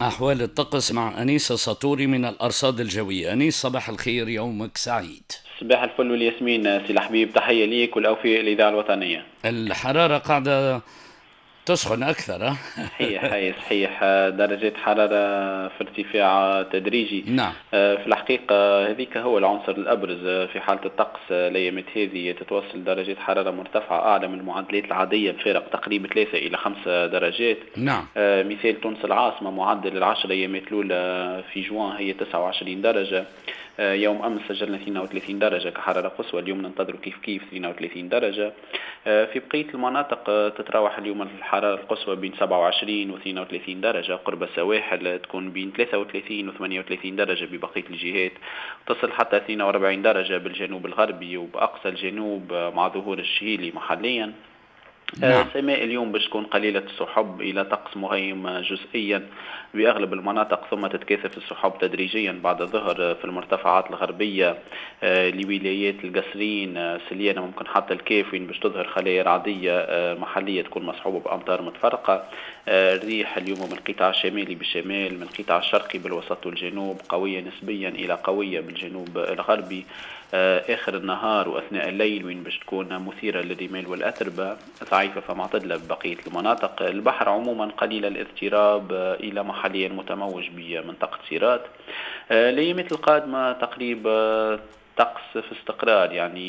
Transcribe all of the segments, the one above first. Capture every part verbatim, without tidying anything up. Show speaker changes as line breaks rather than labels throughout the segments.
أحوال الطقس مع أنيسة ساطوري من الأرصاد الجوية. أنيس، صباح الخير، يومك سعيد.
صباح الفل والياسمين سي الحبيب، تحية ليك والأوفياء الإذاعة الوطنية.
الحرارة قاعدة تسخن أكثر.
صحيح صحيح، درجات حرارة في ارتفاع تدريجي.
نعم.
في الحقيقة هذيك هو العنصر الأبرز في حالة الطقس الأيامات هذه، تتوصل درجات حرارة مرتفعة أعلى من المعدلات العادية بفارق تقريبا ثلاثة إلى خمسة درجات.
نعم.
مثال تونس العاصمة معدل العشر أيامات الأولى في جوان هي تسعة وعشرين درجة، يوم أمس سجلنا اثنين وثلاثين درجة كحرارة قصوى، اليوم ننتظر كيف كيف اثنين وثلاثين درجة. في بقية المناطق تتراوح اليوم الحرارة القصوى بين سبعة وعشرين و اثنين وثلاثين درجة، قرب السواحل تكون بين ثلاثة وثلاثين و ثمانية وثلاثين درجة ببقية الجهات، تصل حتى اثنين وأربعين درجة بالجنوب الغربي وبأقصى الجنوب مع ظهور الشهيلي محليا.
نعم.
السماء اليوم باش تكون قليلة السحب إلى طقس مغيم جزئيا بأغلب المناطق، ثم تتكاثف السحب تدريجيا بعد الظهر في المرتفعات الغربية لولايات القصرين، سليانة، ممكن حتى الكاف وين باش تظهر خلايا رعدية محلية تكون مصحوبة بأمطار متفرقة. الريح اليوم من القطاع الشمالي بالشمال، من القطاع الشرقي بالوسط والجنوب، قوية نسبيا إلى قوية بالجنوب الغربي. آخر النهار وأثناء الليل وين باش تكون مثيرة للرمال والأتربة، ضعيفة فمعتدلة ببقية المناطق. البحر عموما قليل الاضطراب إلى محليا متموج بمنطقة سيرات. الأيامات القادمة تقريبا طقس في استقرار، يعني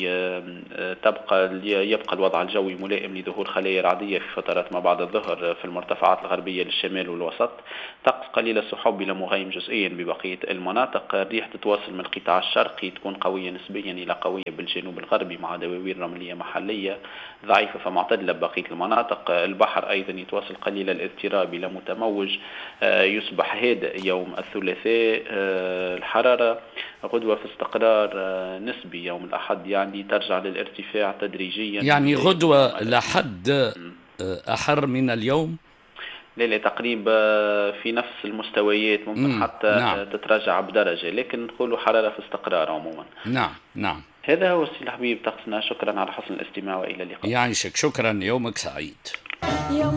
تبقى يبقى الوضع الجوي ملائم لظهور خلايا رعدية في فترات ما بعد الظهر في المرتفعات الغربية للشمال والوسط، طقس قليل السحب إلى مغيم جزئيا ببقية المناطق. الريح تتواصل من القطاع الشرقي تكون قوية نسبيا إلى قوية بالجنوب الغربي مع دواوير رملية محلية ضعيفة فمعتدلة ببقية المناطق. البحر أيضا يتواصل قليل الاضطراب إلى متموج، يصبح هادئ يوم الثلاثاء. الحرارة غدوة في استقرار نسبي يوم الأحد، يعني ترجع للارتفاع تدريجيا،
يعني غدوة لحد أحر من اليوم.
لا لا، تقريبا في نفس المستويات، ممكن
مم.
حتى
نعم.
تتراجع بدرجة، لكن نقولوا حرارة في استقرار عموما.
نعم نعم،
هذا هو السي الحبيب طقسنا. شكرا على حسن الاستماع والى اللقاء.
يعيشك، شكرا، يومك سعيد.
يوم